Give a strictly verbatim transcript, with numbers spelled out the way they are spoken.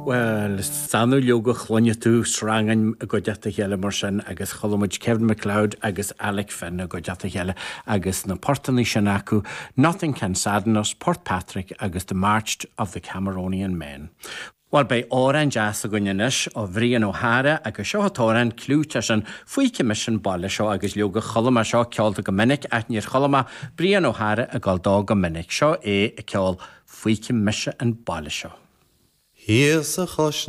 Well, is annamh leoga a chluineann tú srangáin i gcuideachta a chéile mar sin agus chuala muid Kevin MacLeod agus Alec Finn i gcuideachta a chéile agus na portanna sin acu, Nothing Can Sadden Us, Portpatrick agus The March of the Cameronian Men. Well beidh amhrán deas againn anois ó Bhrian Ó hEára agus seo an t-amhrán clúiteach sin Feicfidh Mise an Baile Seo agus leoga chuala mé seo ceolta go minic ach níor chuala mé Brian Ó hEára ag gabháil dó go minic seo é ag ceol Feicfidh Mise an Baile Seo. Thíos a chois